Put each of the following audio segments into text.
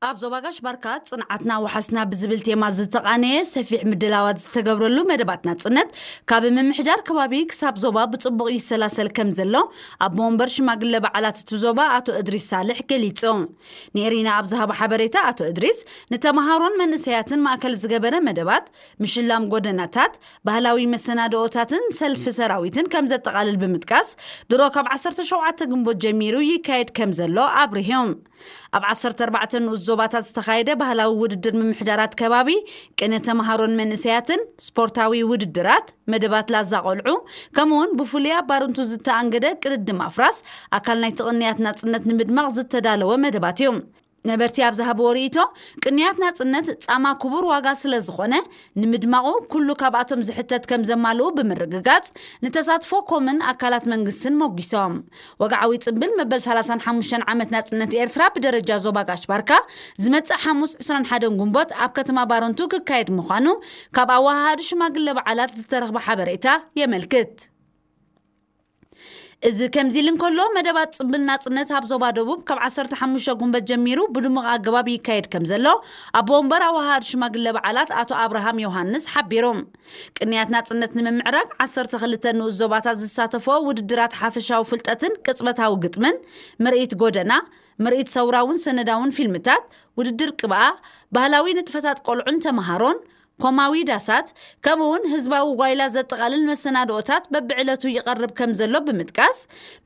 ኣብ ዞባ ጋሽ ባርካ ጽንዓትና ወሓስና ብዝብል ቴማ ዝተቓነየ ሰፊሕ ምድላዋት ዝተገብረሉ መደባት ናጽነት፣ ካብ ምምሕዳር ከባቢ ክሳብ ዞባ ብጽቡቕ ይሰላሰል ከም ዘሎ ኣቦ ወንበር ሽማግለ በዓላት እቲ ዞባ ኣቶ እድሪስ ሳልሕ ገሊጹ። ንኤሪና ኣብ ዝሃቦ ሓበሬታ ኣቶ እድሪስ፣ ንተምሃሮን መንእሰያትን ማእከል ዝገበረ መደባት፣ ምሽላም ጎደናታት፣ ባህላዊ መሰናድኦታትን ሰልፊ ሰራዊትን ከም ዘጠቓልል ብምጥቃስ፣ ድሮ ካብ ዓሰርተ ሸውዓተ ግንቦት ጀሚሩ ይካየድ ከም ዘሎ ኣብሪሆም። ኣብ ዓሰርተ ኣርባዕተ ንኡስ ዞባታት ዝተኻየደ ባህላዊ ውድድር ምምሕዳራት ከባቢ፣ ቅነ ተምሃሮን መንእሰያትን፣ ስፖርታዊ ውድድራት፣ መደባት ላዛ ቆልዑ፣ ከምኡውን ብፍሉይ ኣብ ባርንቱ ዝተኣንገደ ቅድድም ኣፍራስ ኣካል ናይቲ ቅንያት ናጽነት ንምድማቕ ዝተዳለወ መደባት እዩ። ነበርቲ ኣብ ዝሃብዎ ርእይቶ፣ ቅንያት ናጽነት ጻማ ክቡር ዋጋ ስለ ዝኾነ፣ ንምድማቑ ኩሉ ካብኣቶም ዝሕተት ከም ዘማልኡ ብምርግጋጽ፣ ንተሳትፎ ኮምን ኣካላት መንግስትን ሞጒሶም። ወግዓዊ ጽምብል መበል ሰላሳን ሓሙሽተን ዓመት ናጽነት ኤርትራ ብደረጃ ዞባ ጋሽ ባርካ ዝመጽእ ሓሙስ ዕስራን ሓደን ግንቦት ኣብ ከተማ ባረንቱ ክካየድ ምዃኑ ካብ ኣወሃሃዲ ሽማግለ በዓላት ዝተረኽበ ሓበሬታ የመልክት። እዚ ከምዚ ኢሉ እንከሎ፣ መደባት ጽምብል ናጽነት ኣብ ዞባ ደቡብ ካብ ዓሰርተ ሓሙሽተ ግንቦት ጀሚሩ ብድሙቕ ኣገባብ ይካየድ ከም ዘሎ ኣቦ ወንበር ኣወሃሃዲ ሽማግለ በዓላት ኣቶ ኣብርሃም ዮሃንስ ሓቢሮም። ቅንያት ናጽነት ንምምዕራግ ዓሰርተ ክልተ ንኡስ ዞባታት ዝሳተፍኦ ውድድራት ሓፈሻዊ ፍልጠትን ቅጽበታዊ ግጥምን፣ ምርኢት ጎደና፣ ምርኢት ሰውራውን ሰነዳውን ፊልምታት፣ ውድድር ቅብኣ፣ ባህላዊ ንጥፈታት ቆልዑን ተምሃሮን፣ ኮማዊ ዳሳት፣ ከምኡውን ህዝባዊ ጓይላ ዘጠቓልል መሰናድኦታት በብዕለቱ ይቐርብ ከም ዘሎ ብምጥቃስ፣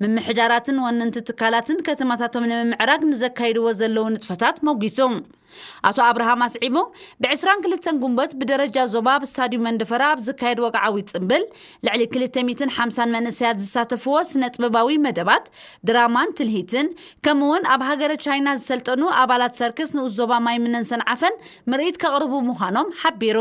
ምምሕዳራትን ወነንቲ ትካላትን ከተማታቶም ንምምዕራግ ንዘካይድዎ ዘለዉ ንጥፈታት ሞጒሱ። ኣቶ ኣብርሃም ኣስዒቡ፣ ብ ዕስራን ክልተን ግንቦት ብደረጃ ዞባ ኣብ ስታድዩም መንደፈራ ኣብ ዝካየድ ወግዓዊ ጽምብል፣ ልዕሊ ክልተ ሚእትን ሓምሳን መንእሰያት ዝሳተፍዎ ስነ ጥበባዊ መደባት፣ ድራማን ትልሂትን፣ ከምኡውን ኣብ ሃገረ ቻይና ዝሰልጠኑ ኣባላት ሰርከስ ንኡስ ዞባ ማይምነን ሰንዓፈን ምርኢት ከቕርቡ ምዃኖም ሓቢሩ።